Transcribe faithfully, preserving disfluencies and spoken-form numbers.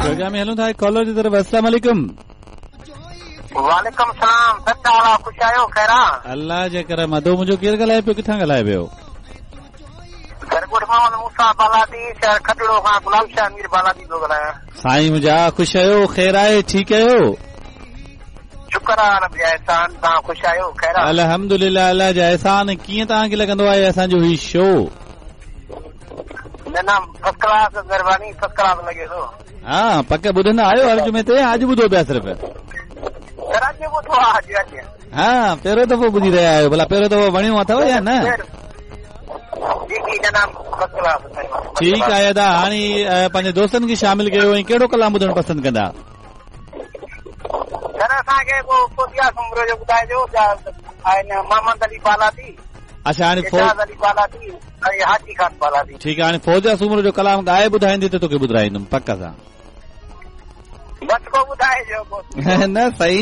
Programme में हलूं था कॉलर जी तरफ़। अस्सलाम वालेकुम। वालेकुम सलाम। सर हाल ख़ुशि आहियो? ख़ैर आहे? अल्लाह जे करम। अदो मुंहिंजो केरु ॻाल्हाए पियो, किथां ॻाल्हाए पियो? ॻोठ मोहम्मद मूसा बालादी, शहर खटड़ो खां गुलाम शाह मीर बालादी थो ॻाल्हायां। साईं मुंहिंजा, ख़ुशि आहियो? ख़ैर आहे? ठीकु आहियो? शुक्र आहे रब जा एहसान। तव्हां ख़ुशि आहियो? ख़ैर आहे? अल्हम्दुलिल्लाह, अल्लाह जा एहसान। कीअं तव्हांखे लॻंदो आहे असांजो ही शो? न न, फर्स्ट क्लास, महिरबानी, फर्स्ट क्लास लॻे थो। हा, पक ॿुधंदा आहियो हर जुमे ते? अॼु ॿुधो पिया सिर्फ़? सर अॼु ॿुधो आहे, अॼु अॼु। हा, पहिरियों दफ़ो ॿुधी रहिया आहियो। भला पहिरियों दफ़ो वणियो अथव या न? जी जी जनाब, फर्स्ट क्लास। ठीकु आहे अदा, हाणे पंहिंजे दोस्तनि खे शामिल कयो ऐं कहिड़ो कलाम ॿुधणु पसंदि कंदा? सर असांखे पोइ फौजिया सुमरो जो ॿुधाइजो, मोहम्मद अली बालादी। अच्छा, हाणे अली बालादी ऐं हाजी खान बालादी। ठीकु आहे, हाणे फौजिया सुमरो जो कलाम ॻाए ॿुधाईंदी त तोखे ॿुधाईंदुमि पक सां। बसि पोइ ॿुधाइजो। न सही।